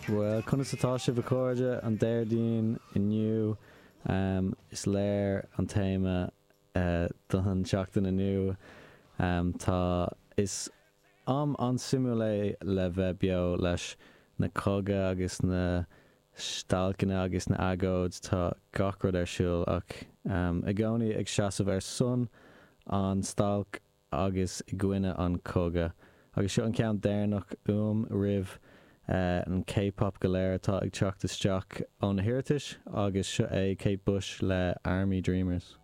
Bhuel, conas atá sibh a chairde? An Déardaoin inniu, is léir an téama don tseachtain inniu. Tá, is am an-suimiúil é le bheith beo leis na cogadh agus na stailceanna agus na agóid, tá gach rud ar siúl ach i gcónaí ag seasamh ar son an stailc agus i gcoinne an cogadh. Agus seo an ceann deireanach uaim roimh an K-pop go léir atá ag teacht isteach ó na hiarratais agus seo é Kate Bush le Army Dreamers.